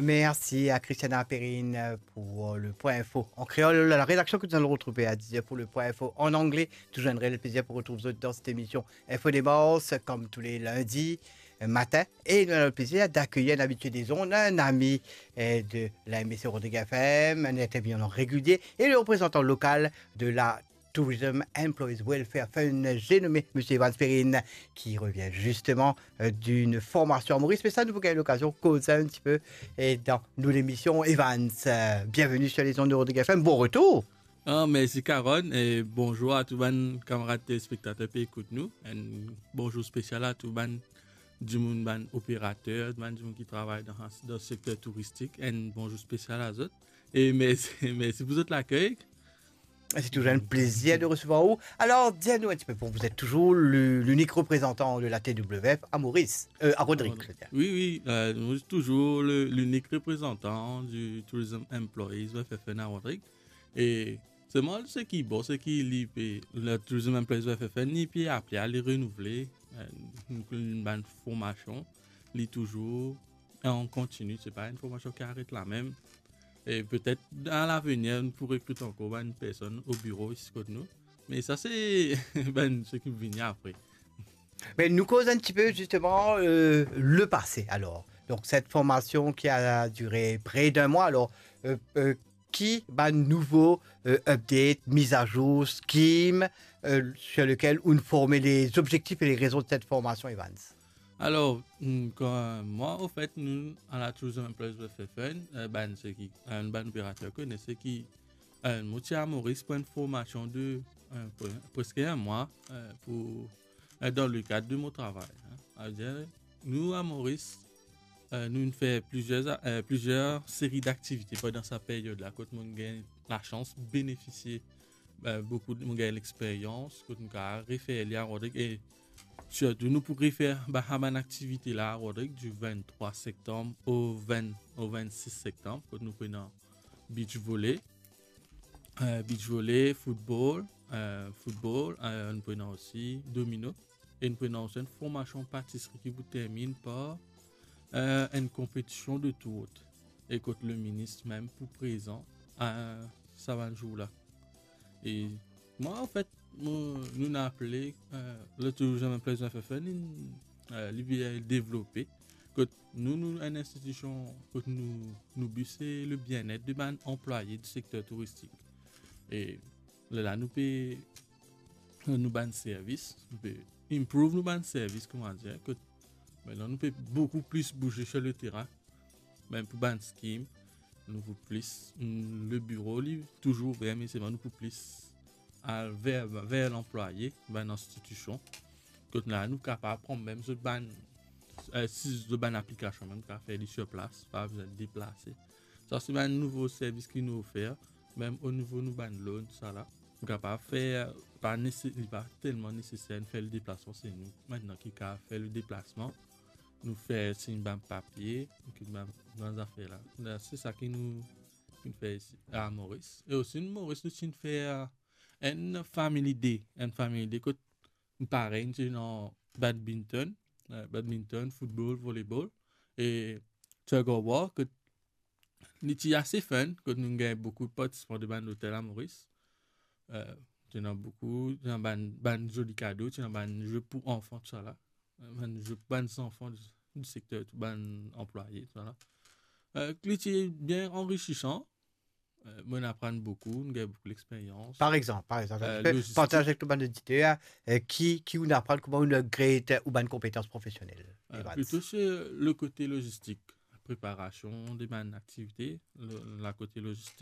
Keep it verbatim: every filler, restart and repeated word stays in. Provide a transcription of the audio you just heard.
Merci à Christiana Perrine pour le point info en créole. La rédaction que nous allons retrouver à dix heures pour le point info en anglais. Toujours un réel plaisir pour retrouver vous dans cette émission Info de Mars, comme tous les lundis euh, matin. Et nous avons le plaisir d'accueillir un habitué des ondes, un ami euh, de la M S C Rodrigue F M, un intervenant régulier et le représentant local de la Tourism Employees Welfare Fund, j'ai nommé M. Evans Perrine, qui revient justement euh, d'une formation à Maurice. Mais ça, nous avons eu l'occasion de causer un petit peu et dans nos émissions. Evans, euh, bienvenue sur les ondes de Rodrigue F M. Bon retour. Ah, mersi Karonn, e bonzour a tou bann kamarad telespektater pe ekout nou. Enn bonzour spesial a tou bann dimoun, bann operater, bann dimoun ki travay dan, dan sekter touristik. Enn bonzour spesial a zot. E mersi, mersi pou zot lakey. C'est toujours un plaisir de recevoir vous. Alors, dis-nous un petit peu, vous êtes toujours le- l'unique représentant de la T W F à Maurice, euh, à Rodrigue, je veux dire. Wi, wi, euh, nou touzour le- l'unique représentant du Tourism Employees Welfare Fund à Rodrigue. E selman seki bon, seki li pe, le Tourism Employees Welfare Fund, li pe apel ale renouvle, euh, nou, nou bann formasion, li touzour an kontini, se pa enn formasion ki aret la mem. E petet dan lavenir, nou pou rekrit ankor bann personn o biro isi kot nou. Me sa se bann seki vini apre. Mais nous cause un petit peu justement euh, le passé alors. Donc cette formation qui a duré près d'un mois, alors euh, euh, qui va nouveau euh, update, mise à jour, scheme euh, sur lequel on formait les objectifs et les raisons de cette formation, Evans? Alor, mm, kan, mwa, anfet, nou, a la Tourism Employees Welfare Fund, euh, bann seki, euh, bann operater kone, seki, euh, mo ti a Moris pou enn formasion de, euh, pre- preske enn mwa, euh, pou, euh, dan le kad de mo travay. Hein. Savedir, nou, a Moris, euh, nou fer plizier, euh, plizier seri d'aktivite pandan sa peryod la, kot mo gagn lasans benefisie euh, boukou de, mo gagn lexperyans, kot nou kapav refer li a Rodrig, e sirtou nou pou refer ba, sa bann aktivite la a Rodrig, du venntrwa septanm o ven, o vennsis septanm, kot nou pou ena beach volley, euh, beach volley, football, euh, football, euh, nou pou ena osi domino, e nou pou ena osi enn formasion patisri ki pou terminn par euh, enn konpetision de tourt, e kot le minis mem pou prezan, euh, sa bann zour la. E mwa, anfet, mo, nou inn apele, euh, le Tourism Employees Welfare Fund, li, euh, li bien devlope, kot nou, nou enn institision, kot nou, nou bi se le bienet de bann anplwaye di sekter touristik. E lerla nou pe, nou bann servis, nou pe improve nou bann servis, kouma dir, kot, mintnan nou pe boukou plis bouze sur le terrain, mem pou bann scheme, nou pou plis, mm, le biro li touzour ouver, me selman nou pou plis al ver, ver lanplwaye, bann institision, kot la nou kapav pran mem zot bann, euh, si zot bann aplikasion, mem kapav fer li sur plas, pa bizin deplase. Sa se bann nouvo servis ki nou ofer, mem o nivo nou bann loan, sa la. Nou kapav fer, pa nese-, li pa telman neseser nou fer le deplasman, se nou mintnan ki kapav fer le deplasman. Nou fer sign bann papie, nou ki bann, bann zafer la. La, se sa ki nou, ki nou fer isi, a Moris. E osi, Moris, nou ti fer enn family day, enn family day kot parey, nou ti ena badminton, euh, badminton, football, volleyball, e tug of war, kot li ti ase fun, kot nou gagn boukou partisipan de bann lotel a Moris. Euh, ti ena boukou, ti ena bann, bann zoli kado, ti ena bann ze pou anfan, tousala. Euh, bann ze pou bann zanfan di, di sekter, tou bann anplwaye, tousala. Euh, li ti bien anrisisan. Euh, mo inn aprann boukou, nou gagn boukou lexperyans. Par exemple, par exemple, Euh, tu peux logistique. Partager avec tout bann oditer euh, qui, qui on apprend comment on upgrade euh, ou bann compétences professionnelles. Euh, Evans. plito se le kote logistik, preparasion de bann aktivite, le, la kote logistik.